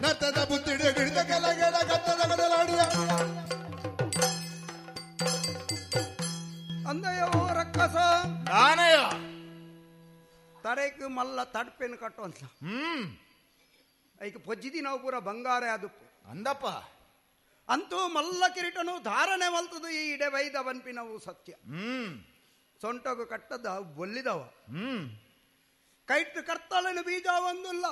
ನತದ ಬುತ್ತಿಡ ಗಿಡಿದ ಕಲಗಡ ಕತ್ತದ ಕಡಲಾಡಿಯ ಅಂದಯೋ ರಕ್ಕಸ ದಾನಯ ತಡೆಕ್ ಮಲ್ಲ ತಡ್ಪೆನ್ ಕಟ್ಟುವಂತ ಐಕ್ ಪೊಜ್ಜಿದಿ ನಾವು ಪೂರ ಬಂಗಾರ ಅದುಪ್ಪು ಅಂದಪ್ಪ ಅಂತೂ ಮಲ್ಲ ಕಿರೀಟನು ಧಾರಣೆ ಮಲ್ತದು ಈ ಇಡೆ ವೈದ ಬನ್ಪಿನವು ಸತ್ಯ. ಸೊಂಟಗು ಕಟ್ಟದ ಬೊಲ್ಲಿದವ ಕೈಟ್ ಕರ್ತಳನು ಬೀಜ ಒಂದುಲ್ಲ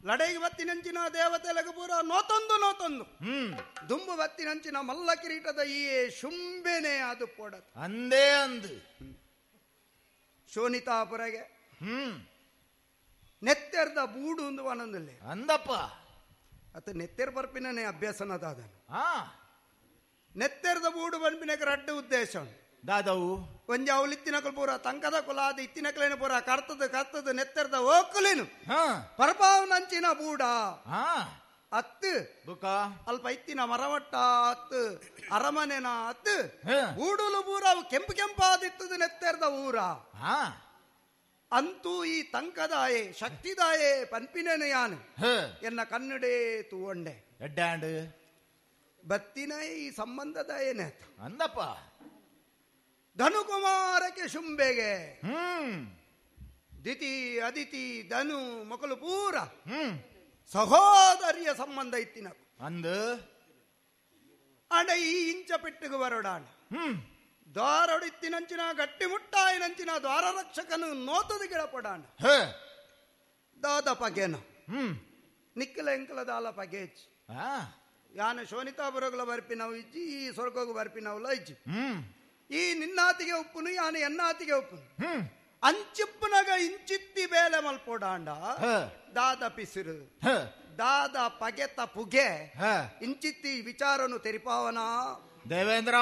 ಲಡೈಗೆ ಬತ್ತಿನಂಚಿನ ದೇವತೆಲಗು ಪೂರ ನೋತೊಂದು ನೋತೊಂದು ದುಂಬು ಬತ್ತಿನಂಚಿನ ಮಲ್ಲ ಕಿರೀಟದ ಈ ಶುಂಬೆನೆ ಅದು ಪೋಡ ಅಂದೇ ಅಂದು ಶೋನಿತಾಪುರಗೆ ನೆತ್ತೆರ್ದ ಬೂಡು ಒಂದು ಒಂದೊಂದಿಲ್ಲ ಅಂದಪ್ಪ ಅತ ನೆತ್ತೆರ್ ಬರ್ಪಿನೇ ಅಭ್ಯಾಸನದಾದನು ನೆತ್ತೆರ್ದ ಬೂಡು ಬನ್ಪಿನಕ ರಡ್ಡು ಉದ್ದೇಶ ದಾದವು ಒಂಜಿ ಅವಳು ಇತ್ತಿನಕಲ್ ಪೂರ ತಂಕದ ಕುಲಾದ ಇತ್ತಿನಕಲೇನು ಪೂರ ಕರ್ತದ ಕರ್ತದ ನೆತ್ತೆರ್ದ ಓಕುಲೇನು ಪರಪಾವನಂಚಿನ ಬೂಡ ಅತ್ತು ಬುಕ ಅಲ್ಪ ಇತ್ತಿನ ಮರವಟ್ಟ ಅತ್ತು ಅರಮನೆನ ಅತ್ತು ಬೂಡುಲು ಪೂರ ಅವು ಕೆಂಪು ಕೆಂಪಾದಿತ್ತದ ನೆತ್ತೆರ್ದ ಊರ ಅಂತೂ ಈ ತಂಕದಾಯೆ ಶಕ್ತಿದಾಯೆ ಪನ್ಪಿನೇನು ಯಾನು ಎನ್ನ ಕನ್ನಡೇ ತೂವಂಡೆ ಎಡ್ಡಾಂಡ್ ಬತ್ತಿನ ಈ ಸಂಬಂಧದಾಯೇನೆ ಅಂದಪ್ಪ ಧನುಕುಮಾರಕ್ಕೆ ಶುಂಬೆಗೆ ದಿತಿ ಅದಿತಿ ಧನು ಮಕ್ಕಳು ಪೂರ ಸಹೋದರಿಯ ಸಂಬಂಧ ಇತ್ತಿನ ಅಂದು ಅಡ ಈ ಇಂಚ ಪೆಟ್ಟಿಗೆ ಬರೋಡಾಣ ದ್ವಾರೊಡಿತ್ತಿನಂಚಿನ ಗಟ್ಟಿ ಮುಟ್ಟಾಯಿನಂಚಿನ ದ್ವಾರ ರಕ್ಷಕನು ನೋತದ ಗಿಡಪಡಾಣ ದಾದ ಪಗೆನ ನಿಕ್ಕಲ ಎಂಕಲ ದಾಲ ಪಗೇಜ್ ಯಾನ ಶೋನಿತಾಪುರಗಳ ಬರ್ಪಿನವು ಇಜ್ಜಿ ಈ ಸ್ವರ್ಗಗೂ ಬರ್ಪಿನವುಲ ಇಜ್ಜಿ ಈ ನಿನ್ನಾತಿಗೆ ಉಪ್ಪುನು ಯಾನ ಎನ್ನಾತಿಗೆ ಉಪ್ಪುನು ಅಂಚಿಪ್ಪುನಗ ಇಂಚಿತ್ತಿ ಬೇಲೆ ಮಲ್ಪೋಡಾಂಡ ದಾದ ಪಿಸಿರು ದಾದ ಪಗೆತ ಪುಗೆ ಇಂಚಿತ್ತಿ ವಿಚಾರನು ತೆರಿಪಾವನ ದೇವೇಂದ್ರ.